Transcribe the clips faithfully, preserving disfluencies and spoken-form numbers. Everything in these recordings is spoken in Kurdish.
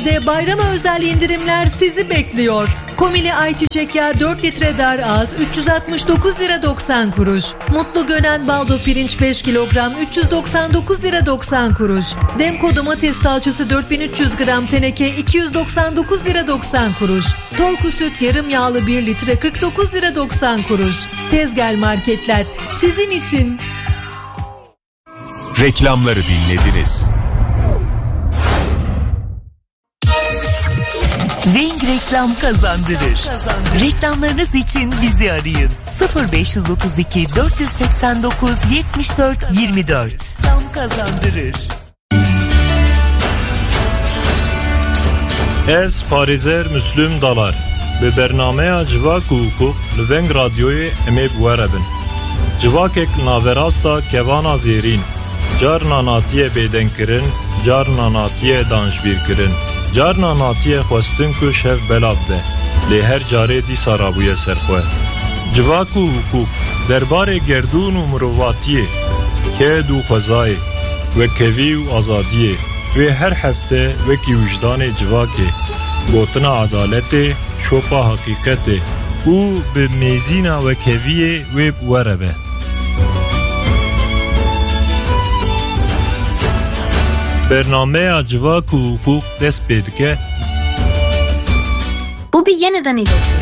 De bayrama özel indirimler sizi bekliyor. Komili ayçiçek yağı dört litre dar ağız üç yüz altmış dokuz lira doksan kuruş. Mutlu Gönen baldo pirinç beş kilogram üç yüz doksan dokuz lira doksan kuruş. Demko domates salçası dört bin üç yüz gram teneke iki yüz doksan dokuz lira doksan kuruş. Torku süt yarım yağlı bir litre kırk dokuz lira doksan kuruş. Tezgel Marketler sizin için. Reklamları dinlediniz. Weng Reklam kazandırır. Reklamlarınız için bizi arayın. sıfır beş yüz otuz iki dört yüz seksen dokuz yetmiş dört yirmi dört. Reklam kazandırır. Ez parêzer Müslüm Dalar. Bi bernameya Civak û Hiqûq li Veng Radyoyê em ê bi we re bin. Civakek li naverasta kevana zêrîn, carna hatiye bêdengkirin, carna hatiye danjbîrkirin, carna hatiye xwestin ku şev belav be, lê her carê dîsa rabûye ser xwe. Civak û Hiqûq, derbarê gerdûn û mirovatiyê, ked û xwezayê, wekevî û azadiyê, wê her hefte wekî wijdanê civakê, gotina edaletê, şopa heqîqetê û bi mêzîna wekeviyê wê bi we re be. Bernameya Civak û Hiqûq dest pê dike. Bu bir yeniden iletildi.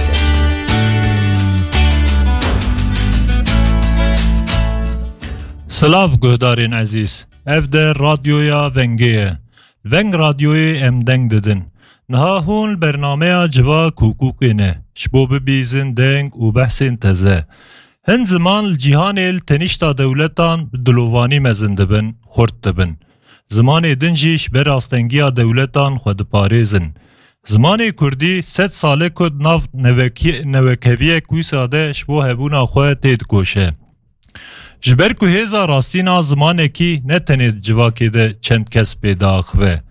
Silav guhdarên ezîz. Ev de radyoya Vengê ye. Veng Radyoyê em deng didin. Niha hûn li bernameya Civak û Hiqûqê ne. Ji bo bibîzin deng û behsên teze. Hin ziman li cîhanê li tenişta dewletan bi dilovanî mezin dibin, xurt dibin. Zimanê din jî ji ber astengiya dewletan xwe diparêzin. Zimanê kurdî sed sal e ku di nav nevekî-, newekeviyek wisa de ji bo hebûna xwe têdikoşe. Ji ber ku hêza rastîn a zimanekî ne tenê di civakê de çend kes pê diaxive.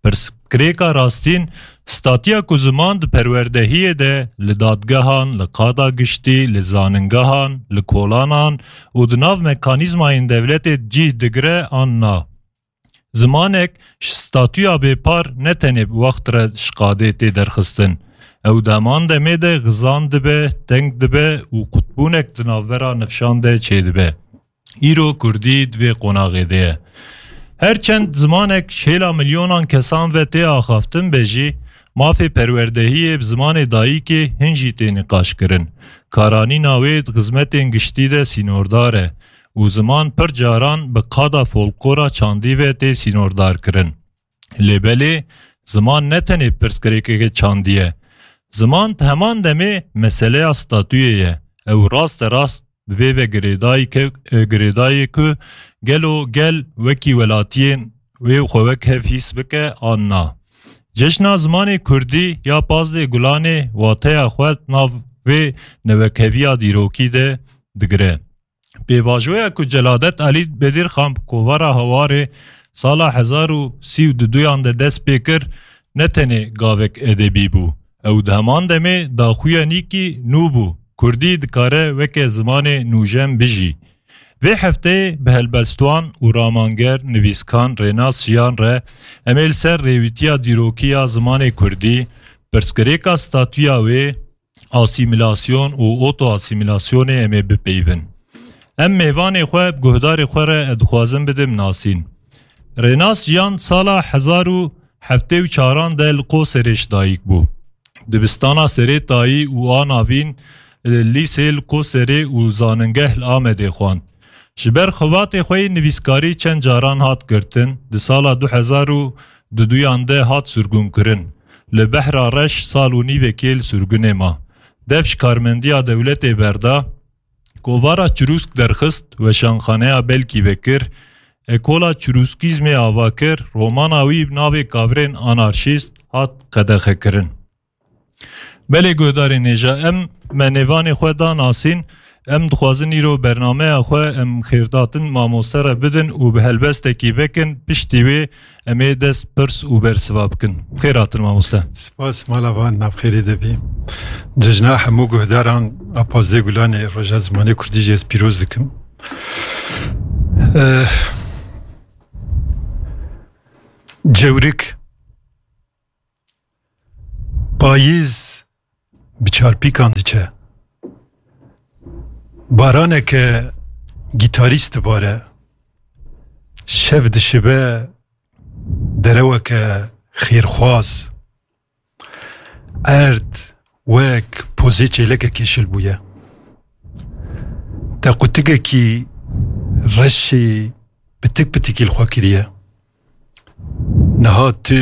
Pirsgirêka rastîn, statuya ku ziman di perwerdehiyê de, li dadgehan, li qada giştî, li zaningehan, li kolanan û di nav mekanîzmayên dewletê cih digire an na. Zimanek ji statuya bêpar ne tenê bi wext re ji qadê tê derxistin. Ew di heman demê de xizan dibe, teng dibe û qutbûnek di navbera nifşan de çêdibe. Îro kurdî di vê qonaxê de ye. Her çend zimanek ji hêla milyonan kesan ve tê axaftin be jî, mafê perwerdehiyê bi zimanê dayikê hin jî tê nîqaşkirin. Karanîna wê di xizmetên giştî de sînordar e û ziman pir caran bi qada folklora çandî ve tê sînordarkirin. Lê belê, ziman ne tenê pirsgirêkeke çandî ye. Ziman di heman demê meseleya statuyê ye. Ew raste rast bi vê ve girêdayî ke-, e, girêdayê ku gelo gel wekî welatiyên wê xwe wek hev hîs bike an na. Cejna zimanê kurdî ya pazdeh Gulanê wateya xwe di nav vê newekeviya dîrokî de digire. Pêvajoya ku Celadet Elî Bedirxan bi kovara Hawarê sala hezar û sî û duduyan de dest pê kir, ne tenê gavek edebî bû. Ew di heman demê daxuyanîkî nû bû. Kurdî dikare weke zimanê nûjen bijî. Vê hefteyê bi helbestvan û ramanger, nivîskan Rênas Jiyan re em ê li ser rêwîtiya dîrokî ya zimanê kurdî, pirsgirêka statuya wê, asîmîlasyon û otoasîmîlasyonê em ê bipeyivin. Em mêvanê xwe bi guhdarê xwe re dixwazin bidim nasîn. Rênas Jiyan sala hezar û heftê û çaran de li Qoserê ji dayik bû. Dibistana Serê Tayî û a navîn, lîsê li Qoserê û zaningeh li Amedê xwend. Ji ber xebatê xwe yê nivîskarî çend caran hat girtin, di sala du hezar û duduyan de hat sirgûnkirin. Li Behra Reş sal û nîvekê li sirgûnê ma. Dev ji karmendiya dewletê berda, kovara Çirûsk derxist, weşanxaneya Belkî vekir, ekola Çirûskîzmê ava kir, romana wî bi navê Kavirên Anarşîst hat qedexekirin. Belê guhdarên hêja, em me nêvanê xwe da nasîn, em dixwazin îro bernameya xwe em xêrdatin mamoste re bidin û bi helbestekî vekin, piştî wê em ê dest pirs û bersiva bikin. Xêr hatin mamoste. Spas, mala van navxêrê de bî. Cejna hemû guhdaran a pazdeh Gulanê Roja Zimanê Kurdî jî ez pîroz dikim. Eh, Cewrik Payîz bi çarpîkan diçe. Baraneke gîtarîst dibare. Şev dişibe dereweke xêrxwaz. Erd wek pozê çêlekekê şil bûye. Te qutikekî reşê pitik pitikî li xwe kiriye. Niha tu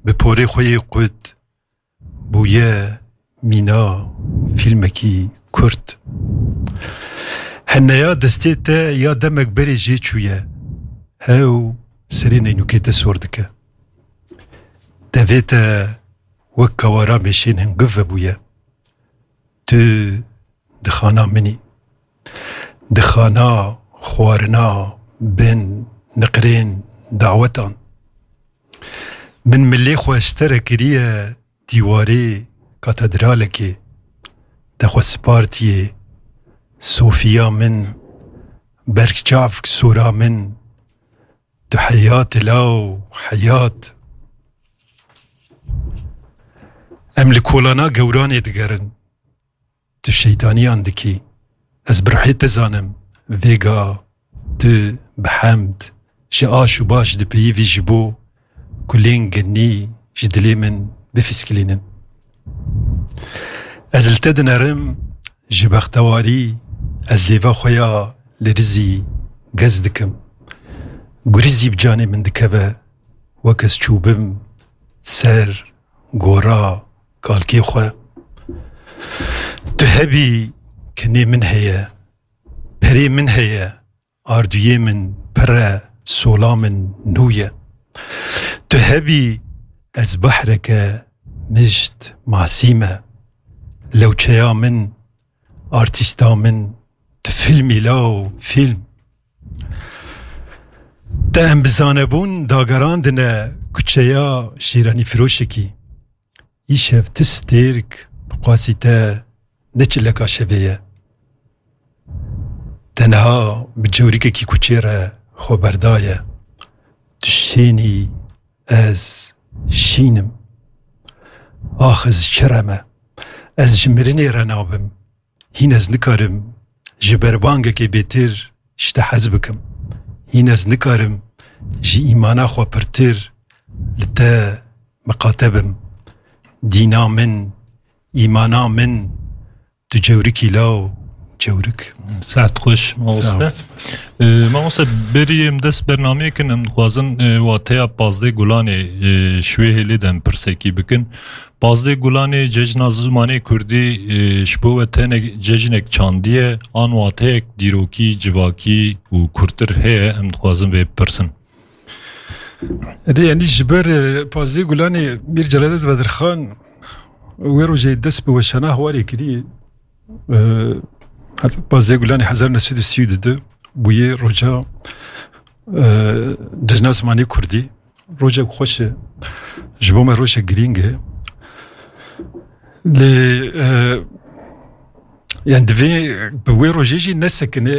bi porê xwe yê qut bûye mîna fîlmekî kurt. Heneya destê te ya demek berê jê çûye. Hew serê neynûkê te sor dike. Devê te wek kawara mêşên hingiv vebûye. Tu di xana min î. Di xana xwarina bin niqrên dawetan. Min milê xwe ji te re kiriye dîwarê katedralekê. Te xwe spartiye Sofiya min, berçavk sora min, tu heyat law heyat. Em li kolana gewranê digerin. Tu şeytaniyan dikî. Ez bi ruhê te zanim. Vêga tu bi hemd ji aş û baş dipeyivî ji bo kulên genî ji dilê min bifîskilînin. Ez li te dinerim ji bextewarî, ez lêva xwe ya li rizî gez dikim. Gurizî bi canê min dikeve, wek ez çûbim ser gora kalkê xwe. Tu hebî, kenê min heye, perê min heye, ardûyê min pir e, sola min nû ye. Tu hebî, ez behreke mişt masî me. Lewçeya min, artîsta min, tu fîlmî law fîlm. Te em bi zanebûn dagerandine kuçeya şîranîfiroşekî. Îşev tu stêrk bi qasî te ne çileka şevê ye. Te niha bi cewrîkekî kuçê re xwe berdaye. Tu şênî, ez şîn im. Ax ez çi re me? Ez ji mirinê re nabim. Hîn ez nikarim ji berbangekê bêtir ji te hez bikim. Hîn ez nikarim ji îmana xwe pirtir li te miqate bim. Dîna min, îmana min, tu cewrikî law cewrik. Saet xweş, mamoste. Sağ ol, spas. Ee, mamoste, berî em dest bernameyê kin, em dixwazin, e, wateya pazdeh Gulanê, e, ji wê hêlê de em pirsekî bikin. Pazdeh Gulanê cejna zimanê kurdî, e, ji bo we tenek cejnek çandî ye, an wateyek dîrokî, civakî û kurtir heye, em dixwazin vê bipirsin. Erê, yanî ji ber, e, pazdeh Gulanê Mîr Celadet Bedirxan wê rojê dest bi weşana Hawarê kirî. E, heta pazdeh Gulanê hezar neh sed û sî û du bûye roja, e, cejna zimanê kurdî. Rojek xweş e. Ji bo me rojek girîng e. Lê, e, yani divê bi wê rojê jî nesekine,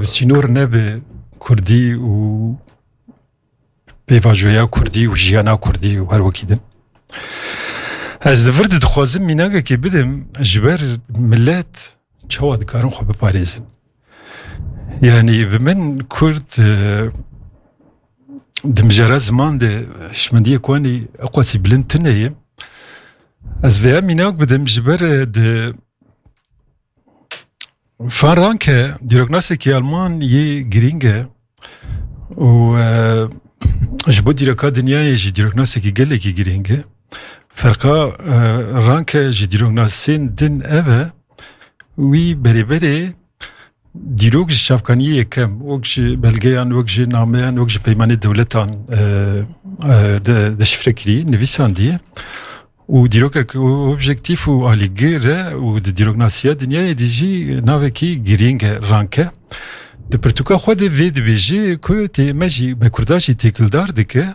sînor nebe kurdî û pêvajoya kurdî û jiyana kurdî û her wekî din. Ez li vir de dixwazim mînakekê bidim ji ber milet çawa dikarin xwe biparêzin. Yani bi min kurd, e, di mijara ziman de hişmendiyê Koanî eqwasî bilind tune ye. Ez vêya mînak bidim ji ber, e, di Frank e, dîroknasekî Alman yê girîng e û, e, ji bo dîroka dinyayê jî dîroknasekî gelekî girîng e. Ferqa, e, Ranke ji dîroknasên din ev e, wî berê berê dîrok ji çavkaniyê yekem, wek ji belgeyan, wek ji nameyan, wek ji peymanê dewletan, e, e, de, deşifre kirî, nivîsandiye. Û dîrokek û objektîf û alîgir e û di dîroknasiya dinyayê de jî navekî girîng e, Ranke. Di pirtûka xwe de vê dibêje ku tê me jî, me Kurda jî têkildar dike.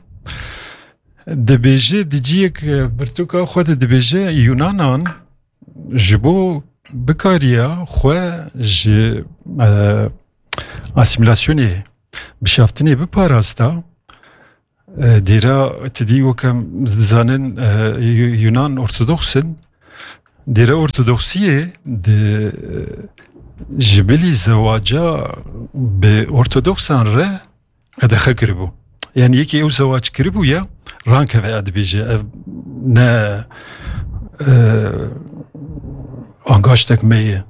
Dibêje di ciyek, e, pirtûka xwe de dibêje Yunanan ji bo bikariya xwe ji, e, asîmîlasyonê, bişaftinê biparasta, E, dêra, tu dî wek em dizanin, e, Yu-, Yunan Ortodoks in. Dêra Ortodoksiyê di, e, ji bilî zewaca bi Ortodoksan re qedexe kiribû. Yani yekî ew zewac kiribû ya, rankeve ya dibêje. Ev ne, e, angaştek me ye.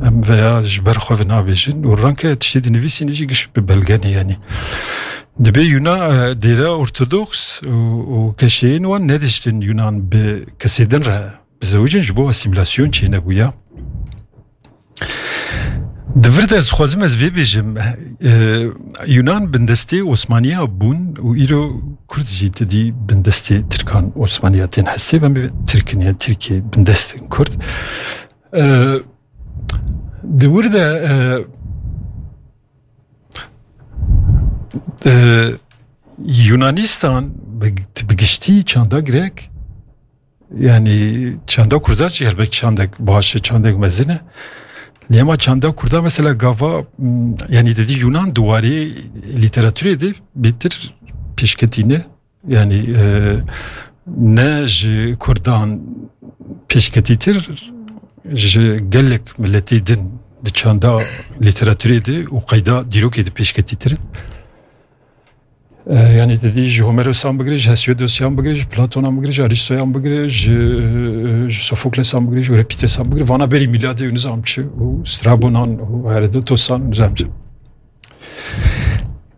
Em veya ji ber xwe ve nabêjin û ranke tiştê dinivîsîne jî giş bi belge ne yani. Dibê Yuna, e, dêra Ortodoks û, û keşeyên wan nediştin Yunan bi kesê din re bizewicin, ji bo asîmîlasyon çênebûya. Di vir de ez xwazim ez vê bêjim, e, Yunan bindestê Osmaniya bûn û îro Kurd jî ti dî bindestê Tirkan Osmaniya tên hesê, em bê Tirkin ya Tirkê bindestin Kurd. E, di wir de, e, e, Yunanistan bi, bi giştî çanda Grek, yani çanda Kurda jî helbet çandek baş e, çandek mezin e. Lê ema çanda Kurda mesela gava, m, yani dedi Yunan di warê lîteraturê de bêtir pêşketî ne. Yani, e, ne ji Kurdan pêşketîtir, ji gelek miletê din di çanda lîteraturê de û qeyda dîrokê de pêşketîtir in. E, yani dedî ji Homeros'an bigire, ji Hesiodos'an bigire, ji Platon'an bigire, ji Aristo'yan bigire, ji, ji Sophoklesan bigire, ji Euripidesan bigire, vana berî mîladê û nizam çi û Strabonan û Herodotosan û nizam çi.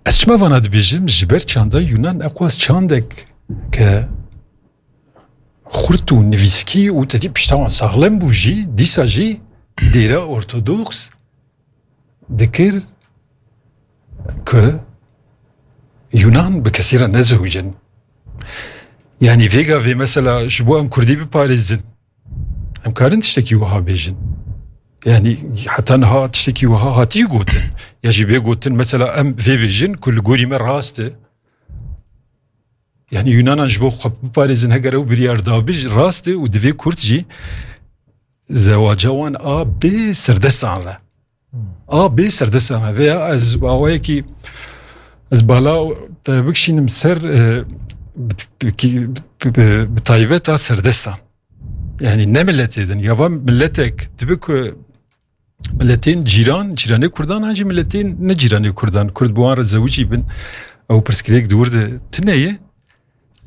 Ez çima vana dibêjim? Ji ber çanda Yunan eqwas çandek ke xurt û nivîskî û tedî pişta wan saxlem bû jî, dîsa jî dêra ortodoks dikir ku Yunan bi kesî re nezewicin. Yani vêga vê mesela ji bo em Kurdî biparêzin, em karin tiştekî wiha bêjin. Yani heta niha tiştekî wiha hatiye gotin. Ya jî bê gotin mesela em vê bêjin ku li gorî me rast e. Yani Yunanan ji bo xwe biparêzin heger ew biryar dabin jî rast e û divê Kurd jî zewaca wan a bê serdestan re. A bê serdestan re. Veya ez awayekî ez bala te bikişînim ser, e, bi, bi, bi, bi taybet a serdestan. Yani ne miletê din. Ya va miletek dibe ku miletên cîran, cîranê Kurdan, an jî miletên ne cîranê Kurdan. Kurd bi wan re zewicî bin, ew pirsgirêk di wir de tune ye.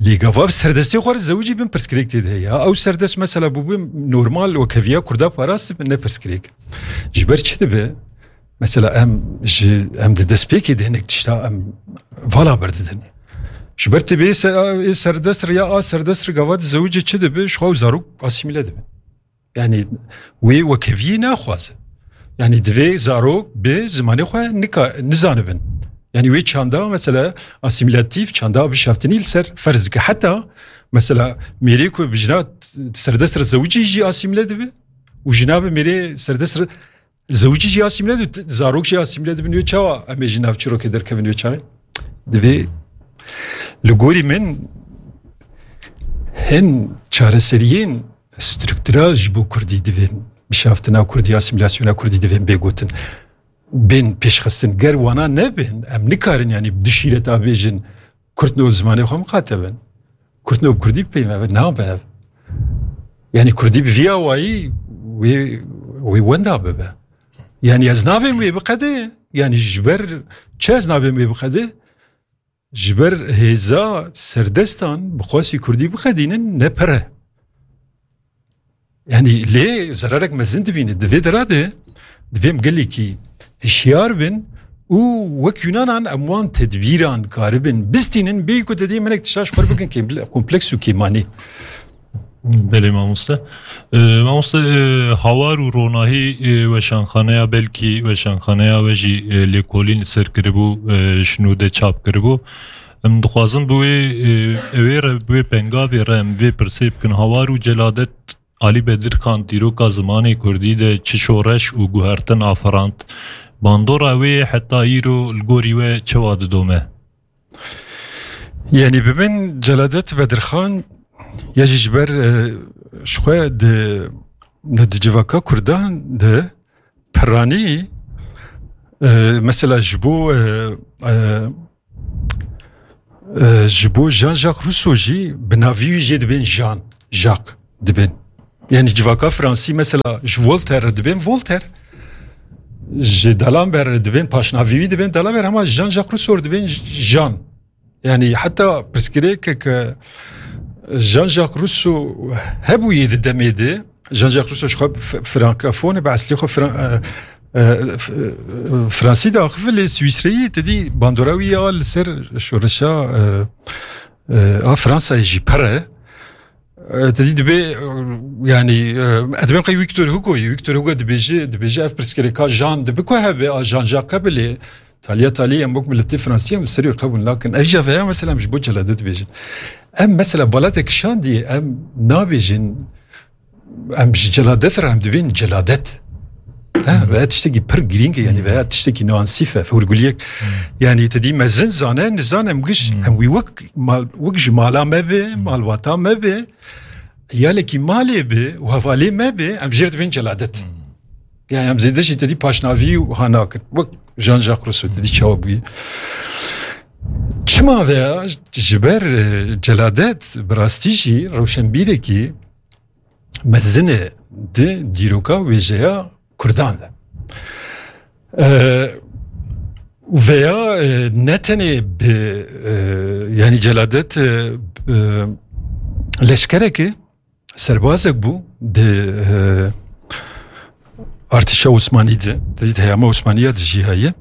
Lê gava bi serdestê xwe re zewicî bin pirsgirêk tê de heye. Ew serdest mesela bûbû normal wekheviya Kurda parast dibe, ne pirsgirêk. Ji ber çi dibe? Mesela em ji, em di destpêkê de hinek tişta em vala berdidin. Ji ber tê bê se-, ê serdest re ya a serdest re gava di zewicê çi dibe? Ji xwe ew zarok asîmîle dibe. Yani wê wekeviyê naxwaze. Yani divê zarok bi zimanê xwe nika-, nizanibin. Yani wê çanda mesela asîmîlatîf, çanda bişaftinî li ser ferz dike. Heta mesela mêrê ku bi jina serdest re zewicî jî asîmîle dibe û jina bi mêrê serdest re zewicî jî asîmîle dibe, zarok jî asîmîle dibin. Wê çawa em ê ji nav çîrokê derkevin wê çaxê? Divê li gorî min hin çareseriyên struktural ji bo Kurdî divên, bişaftina Kurdî, asîmîlasyona Kurdî divên bê gotin. Bên pêşxistin. Ger wana nebin, em nikarin, yani, bi du şîreta bêjin, Kurd no li zimanê xwe miqate bin. Kurd no bi Kurdî bipeyve, nabe ev. Yani, Kurdî bi vî awayî wê, wê wenda bibe. Yani, ez nabêm wê biqede. Yani, ji ber çi ez nabêm wê biqede? Ji ber hêza serdestan bi xwesî Kurdî biqedînin ne pir e. Yani lê zerarek mezin dibîne. Di vê dera de divê em gelekî hişyar bin û wek Yunanan em wan tedbîran karibin bistînin, bêyî ku te dê minek tişta ji xwe re bikin kêm-, kompleks û kêmanî. Belê mamoste. E, mamoste, e, Hawar û Ronahî, e, weşanxaneya, belkî weşanxaneya we jî, e, lêkolîn li ser kiribû, e, ji nû de çap kiribû. Em dixwazin bi wê, e, ewê re, bi wê pengavê re em vê pirsê bikin. Hawar û Celadet Alî Bedirxan dîroka zimanê kurdî de çi şoreş û guhertin aferand? Bandora wê heta îro li gorî we çawa didome? Yani bi min Celadet Bedirxan ya jî ji ber, e, ji xwe di, di civaka Kurdan de piranî, e, mesela ji bo, e, e, E, ji bo Jean-Jacques Rousseau jî bi navî wî jê dibên Jean, Jacques dibên. Yani civaka Fransî mesela ji Voltaire re dibên Voltaire. Ji D'Alembert re dibên paşnavî wî dibên D'Alembert, ama Jean-Jacques Rousseau re dibên Jean. Yani heta pirsgirêkeke Jean-Jacques Rousseau hebûyê di demê de, Jean-Jacques Rousseau ji xwe f-, frankofon e, bi eslê xwe fran-, e, e, f-, e, Fransî de axive, lê Swîsreyî, te dî bandora wî ya li ser şoreşa, e, e, a Fransayê jî pir e. E, te dî dibê, e, yani, e, ez dibêm qey Victor Hugo'yê. Victor Hugo dibêje, dibêje ev pirsgirêka Jean dibe ku hebe, a Jean-Jacques hebe, lê taliya talî em wek miletê Fransî em li ser wê qebûl nakin. Ev jî veya mesela em ji bo celadet dibêjin. Em mesela balatek şandî em nabêjin, em ji celadet re em dibên celadet. Ha, veya tiştekî pir girîng e, yani veya tiştekî nuansîf e, hûrguliyek. Yani te dî mezin zane, nizane em giş, em wî wek mal, wek ji mala me be, malbata me be, yalekî malê be û hevalê me be, em jê re dibên celadet. Yani em zêde jî te dî paşnavî û ha nakin. Wek Jean-Jacques Rousseau te dî çawa bûye. Çima veya ji ber, e, celadet bi rastî jî rewşenbîrekî mezin e di dîroka wêjeya Kurdan de. E, veya, e, ne tenê bi, e, yani celadet, e, e, leşkereke serbazek bû di, e, artêşa Osmanî de, di heyama Osmanî ya de jî heye.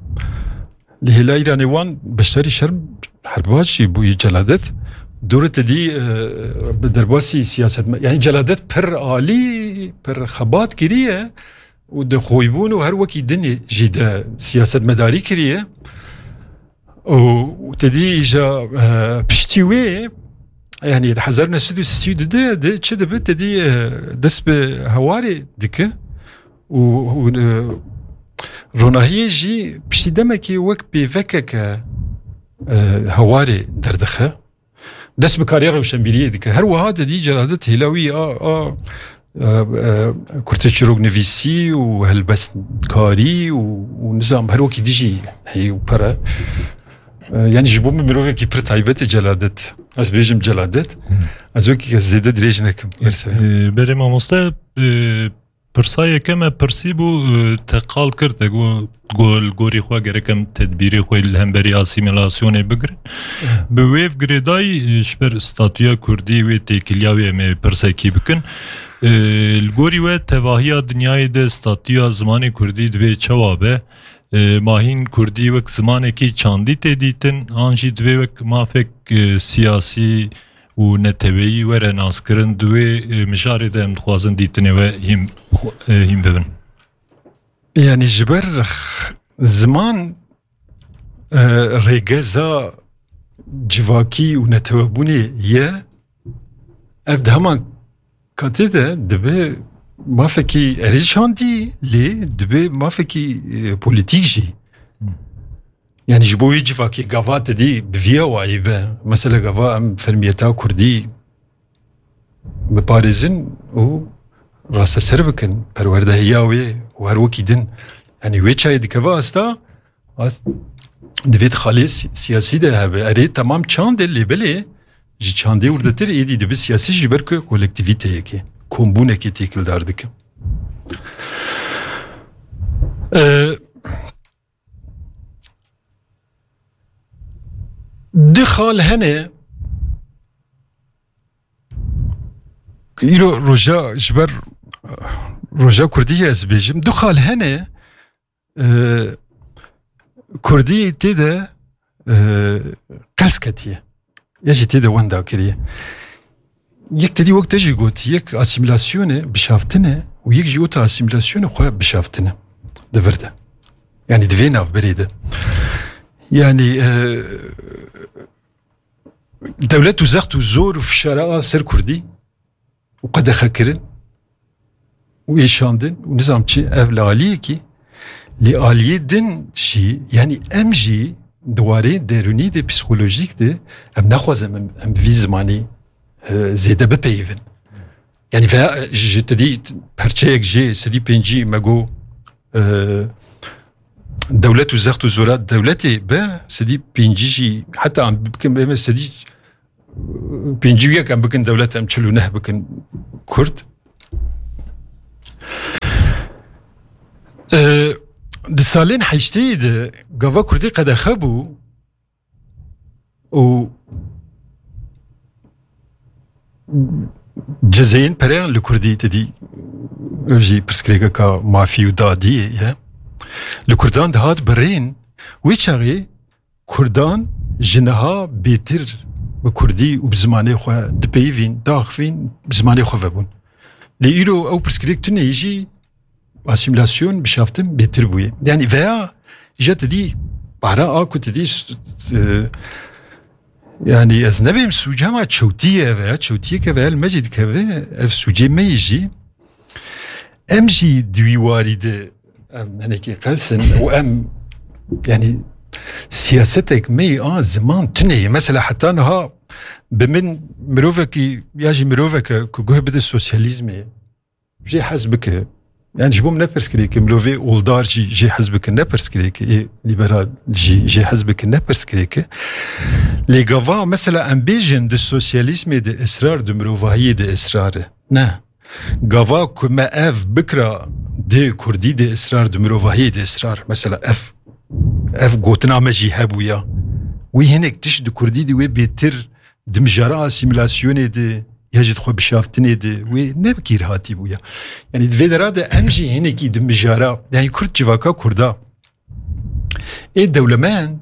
Li hêla Îranê wan beşdarî şerm herbaz jî bûyî celadet. Dûre te dî, e, bi derbasî siyaset me, yani celadet pir alî, pir xebat kiriye û di xoybûn û her wekî dinê jî de siyasetmedarî kiriye. Û te dî îja, e, piştî wê, yani di hezar neh sed û sî û du de çi dibe, te dî, e, dest bi hewarê dike û, û, e, ronahiyê jî piştî demekê wek pêvekeke, e, hewarê derdixe. Dest bi karê rewşenbîriyê dike. Her wiha te dî celadet hêla wî a, a, e, e, kurteçîroknivîsî û helbestkarî û, û nizam her wekî dijî heyî û pere. E, yani ji bo min mirovekî pir taybet e celadet. Ez bêjim celadet. Ez wekî kes zêde dirêj nekim. Mersi. E, berê mamoste, e, pirsa yekem me pirsî bû, e, te qal kir, te got, got, li gorî xwe gerek em tedbîrê xwe li hemberî asîmîlasyonê bigirin. Bi wê girêdayî, e, ji ber statûya kurdî wê têkiliya wê em ê pirsekî bikin. E, li gorî we tevahiya dinyayê de statûya zimanê kurdî divê çawa be? E, ma hîn kurdî wek zimanekî çandî tê dîtin, an jî divê wek mafek, e, siyasî û neteweyî were naskirin, di wê, e, mijarê de em dixwazin dîtinê we hîn, e, hîn bibin. Yani ji ber x-, ziman, e, rêgeza civakî û netewebûnê ye, ev di heman katê de dibe mafekî erê çandî, lê dibe mafekî, e, polîtîk jî. Hmm. Yani ji bo wê civakê gava te dî bi vî awayî be. Mesela gava em fermiyeta kurdî biparêzin û rasteser bikin, perwerdehiya wê û her wekî din. Yani wê çayê dikeve asta, as-, divê di xalê si-, siyasî de hebe. Erê, temam çand e, lê belê ji çandê wirdetir êdî dibe siyasî ji ber ku kolektîvîteyekê, kombûnekê têkildar dike. Ee, du xal hene, îro roja ji ber roja kurdî ye ez bêjim, du xal hene, e, kurdî tê de, e, qels ketiye. Ya jî tê de wenda kiriye. Yek te dî wek te jî got, yek asîmîlasyon e, bişaftin e û yek jî weta asîmîlasyon e xwe bişaftin e. Di vir de. Yani di vê navberê de. Yani, e, dewlet û zext û zor û fişara a ser kurdî û qedexekirin û êşandin û nizam çi, ev li aliyekî, lê aliyê din jî, yani em jî di warê derûnî de, psîkolojîk de, em naxwazin em, em bi vî zimanî, e, zêde bipeyivin. Yani veya, e, ji, ji te dî perçeyek jê sedî pêncî me got, e, dewlet û zext û zora dewletê be, sedî pêncî jî, heta em bikin, em sedî pêncî û yek em bikin dewlet, em çil û neh bikin Kurd. E, di salên heşteyê de gava Kurdî qedexe bû û cezeyên pereyan li Kurdî, te dî, ev jî pirsgirêkeka mafî û dadiyê ye. Li Kurdan dihat birîn, wê çaxê Kurdan ji niha bêtir bi Kurdî û bi zimanê xwe dipeyivîn, diaxivîn, bi zimanê xwe vebûn. Lê îro ew pirsgirêk tune yê jî asîmîlasyon, bişaftin bêtir bûye. Yanî veya îja te dî, bara a ku te dî s-, s-, yanî ez nebêm sûc, hema çewtî ye veya çewtiyeke veya li me jî dikeve, ev sûcê me yê jî. Em jî di wî warî de em hinekî qels in û em, yanî siyasetek me yê a ziman tune ye. Mesela heta niha bi min mirovekî ya jî miroveke ku guh bide sosyalîzmê, jê hez bike. Yani ji bo min ne pirsgirêk e, mirovê oldar jî jê hez bike, ne pirsgirêk e, ê liberal jî jê hez bike, ne pirsgirêk e. Lê gava mesela em bêjin di sosyalîzmê de israr, di mirovahiyê de israr e. Ne. Gava ku me ev bikira di kurdî de israr, di mirovahiyê de israr. Mesela ev, ev gotina me jî hebûya. Wî hinek tişt di kurdî de wê bêtir di mijara asîmîlasyonê de ya jî di xwe bişaftinê de wê ne bi kêr hatî bûya. Yanî di vê dera de em jî hinekî di mijara, yanî Kurd civaka Kurda ê dewlemend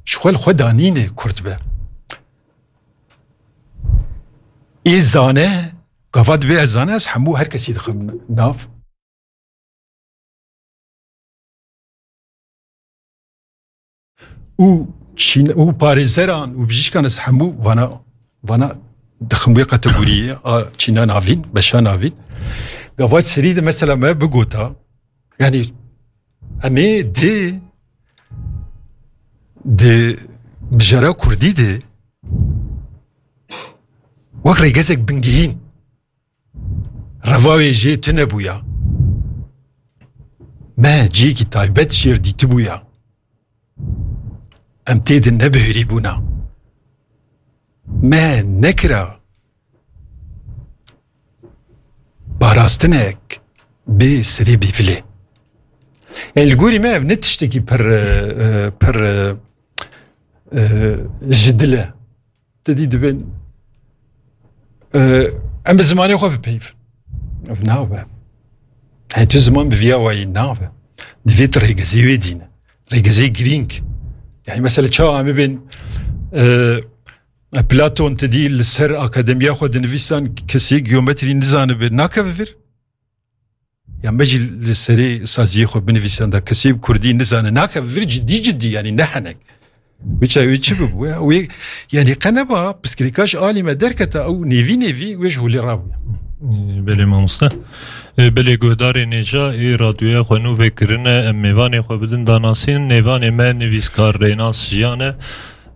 ji xwe li xwe danîne Kurd be. Ê zane, gava dibê ez zane, ez hemû her kesî dixim nav. Û çîn-, û parêzeran û bijîşkan ez hemû vana, vana dixim wê kategoriyê a çîna navîn, beşa navîn. Gava serî de mesela me bigota, yanî em ê di, di mijara kurdî de wek rêgezek bingehîn reva wê jê tune bûya. Me cihekî taybet jêr dîtibûya. Em tê de nebihêrîbûna. Me nekira parastinek bê serê bêvilê. Yani li gorî me ev ne tiştekî pir, e, e, pir, e, e, ji dil e. Te dî dibên, e, em bi zimanê xwe bipeyivin. Ev nabe. Hey, tu ziman bi viya wayî nabe. Divê tu rêgezê wê dîne. Rêgezê girîng. Yani mesela çawa em bibên, e, Platon te dî li ser akademiya xwe dinivîsan kesê geometrî nizanibe, nakeve vir. Ya me jî li serê saziyê xwe binivîsan da kesê bi kurdî nizane, nakeve vir cidî cidî, yani ne henek. Wê çay wê çi bibû ya? Wê, yani qe neba piskirêka ji alî me derketa ew nêvî nêvî wê ji holê rabûya. Belê mamoste. E, belê guhdarê nêja ê radyoya xwe nû vekirine, em mêvanê xwe bidin danasîn. Nêvanê me nivîskar Rênas Jiyan e.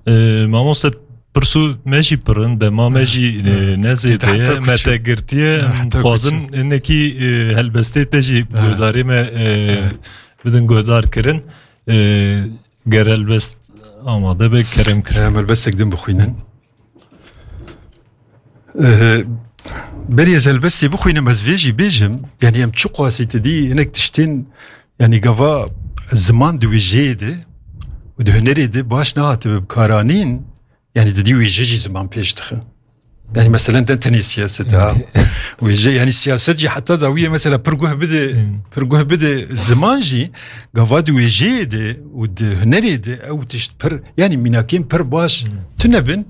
E, mamoste, pirsû me jî pir in, dema me jî, e, ne zêde ye, me te girtiye. Em dixwazin hinekî, e, helbestê te jî guhdarê me, e, bidin guhdar kirin. E, ger helbest amade be, kerem kir. Em helbestek din bixwînin. Eh, berî ez helbestê bixwînim, ez vê jî bêjim, yanî em çiqasî te dî hinek tiştên, yanî gava ziman di wêjeyê de û di hunerê de baş nehatibe bikaranîn, yanî te dî wêje jî ziman pêş dixe. Yanî meselen ne tenê siyaset ha. Wêje, yanî siyaset jî heta dawiyê mesela pir guh bide, pir guh bide ziman jî, gava di wêjeyê de û di hunerê de ew tişt pir, yanî mînakên pir baş tune bin,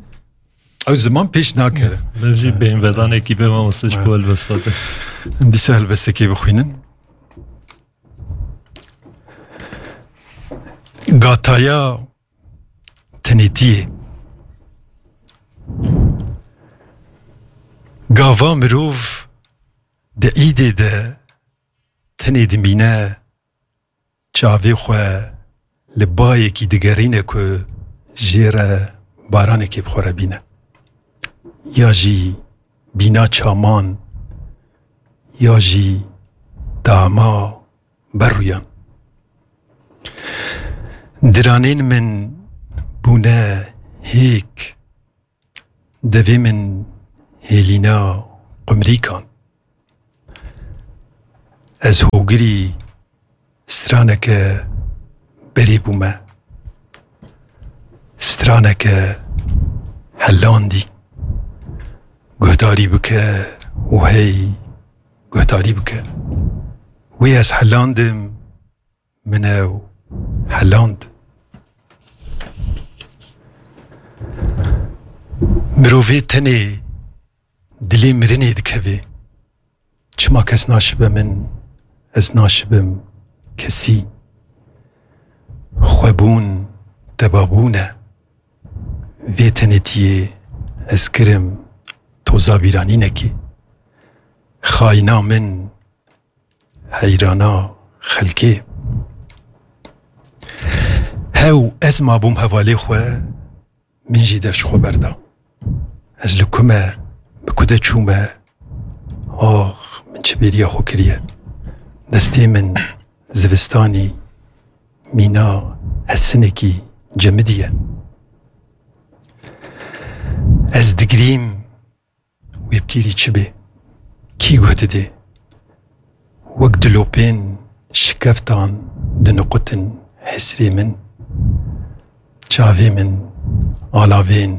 ew ziman pêş nakeve. Ev jî bêhnvedanekî be mamoste ji bo helbesta te. Em dîsa helbestekê bixwînin. Gataya tenêtiyê. Gava mirov di îdê de tenê dimîne, çavê xwe li bayekî digerîne ku jê re baranekê bi xwe re bîne. Ya jî bîna çaman, ya jî dama berûyan. Diranên min bûne hêk, devê min hêlîna qumrîkan. Ez hogirî straneke berê bûme. Straneke helandî. Guhdarî bike û hey guhdarî bike. Wê ez helandim, min ew heland. Mirovê tenê dilê mirinê dikeve. Çima kes naşibe min, ez naşibim kesî. Xwebûn tebabûn e. Vê tenêtiyê ez kirim toza bîranînekê. Xayîna min, heyrana xelkê. Hew ez mabûm hevalê xwe, min jî dev ji xwe berda. Ez li ku me, bi ku de çûme, ax, min çi bêriya xwe kiriye. Destê min zivistanî mîna hesinekî cemidiye. Ez digirîm, wê bi tîrî çi bê? Kî guh didê? Wek dilopên şikeftan diniqutin hesrê min, çavê min alavên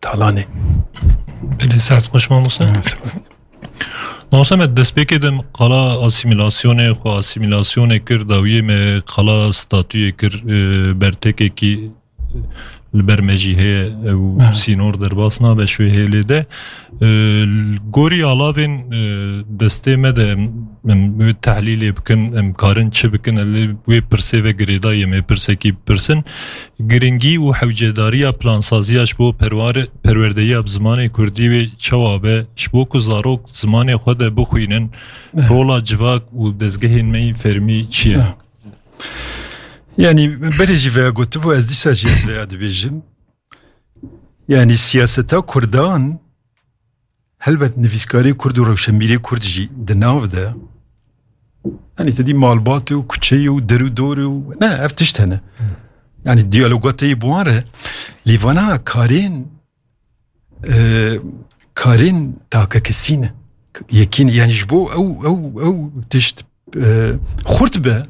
talanê. Belê, saet xweş mamoste. Mamoste, me destpêkê de qala asîmîlasyonê, xwe asîmîlasyonê kir, dawiyê me qala statuyê kir, e, bertekekî li ber me jî heye, ew sînor derbas nabe ji wê hêlê de. E, li gorî alavên, e, destê me de em, em wê tehlîlê bikin, em karin çi bikin, em lê wê pirsê ve girêdayî, em ê pirsekî bipirsin. Giringî û hewcedariya plansaziya ji bo perware-, perwerdeyiya bi zimanê kurdî wê çawa be, ji bo ku zarok zimanê xwe de bixwînin, rola civak û dezgehên me yên fermî çi ye? Yanî, berê jî veya gotibû, ez dîsa jî ez veya dibêjim. Yanî, siyaseta Kurdan, helbet nivîskarê Kurd û rewşenbîrê Kurd jî di nav de, yanî, te dî malbatê û kuçeyê û der û dorê û, ne, ev tişt hene. Yanî, diyaloga te yê bi wan re, lê vana karên e, karên takekesî ne. Yekî ne. Yanî ji bo ew, ew, ew tişt, e, xurt be,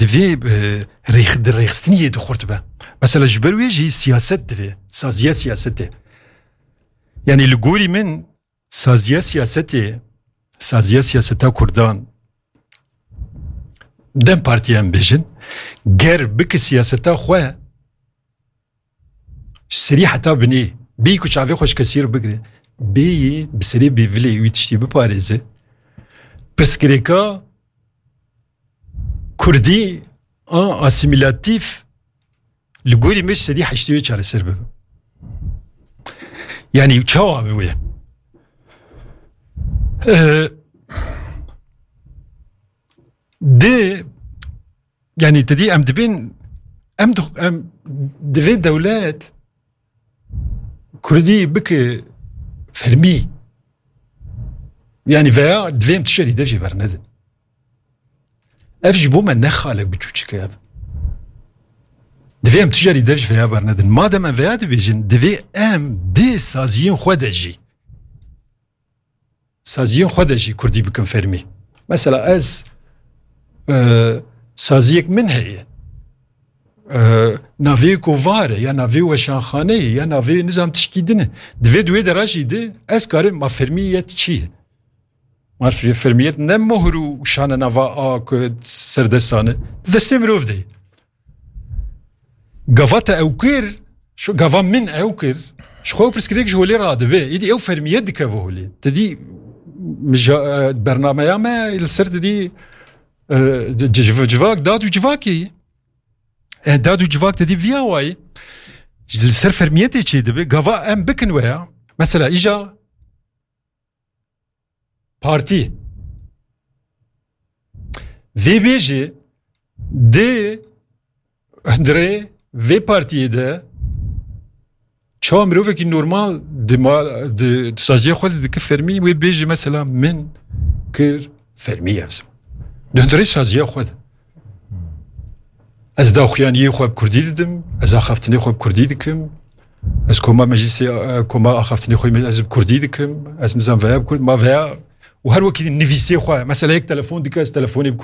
divê, e, rêx-, di rêxistiniyê de xurt be. Mesela ji ber wê jî siyaset divê, saziya siyasetê. Yanî li gorî min saziya siyasetê, saziya siyaseta Kurdan, DEM Partiyê em bêjin, ger bike siyaseta xwe, ji serî heta binê, bêyî ku çavê xwe ji kesî re bigire, bêyî bi serê bêvilê wî tiştî biparêze, pirsgirêka kurdî a asîmîlatîf li gorî me ji sedî heştê wê çareser bibe. Yanî çawa bi wê? Ee, di Yanî, te dî em dibên, em dix-, em divê dewlet Kurdî bike fermî. Yanî, veya divê em tişerî dev jî bernedin. Ev ji bo me ne xalek biçûçik e ev. Divê em tişerî dev jî veya bernedin. Madem em veya dibêjin, divê em di saziyên xwe de jî saziyên xwe de jî kurdî bikin fermî. Mesela ez, e, saziyek min heye. E, navê kovar e, ya navê weşanxane ye, ya navê nizam tişkî din e. Divê di wê dera jî de ez karim ma fermiyet çi ye? Ma fe-, fermiyet ne mohr û şane nava a ku serdestan e. Di destê mirov de ye. Gava te ew kir, şu gava min ew kir, ji xwe pirsgirêk ji holê radibe. Îdî ew fermiyet dikeve holê. Te dî, mija-, e, bernameya me li ser te dî, e, ci-, ci-, civak, dad û civakê ye. E, dad û civak te dî viya wayî. Li ser fermiyetê çê dibe. Gava em bikin weya. Mesela îja partî vê bêjê di hundirê vê partiyê de çawa mirovekî normal di ma-, di, di saziya xwe de dike fermî, wê bêjê mesela min kir fermî ev ziman. Di hundirê saziya xwe de. Ez daxuyaniyê xwe bi kurdî didim, ez axaftinê xwe bi kurdî dikim, ez koma meclisê, e, koma axaftinê xwe ez bi kurdî dikim, ez nizam veya bi kurd, ma veya û her wekî nivîsê xwe, mesela yek telefon dike, ez telefonê bi kurdî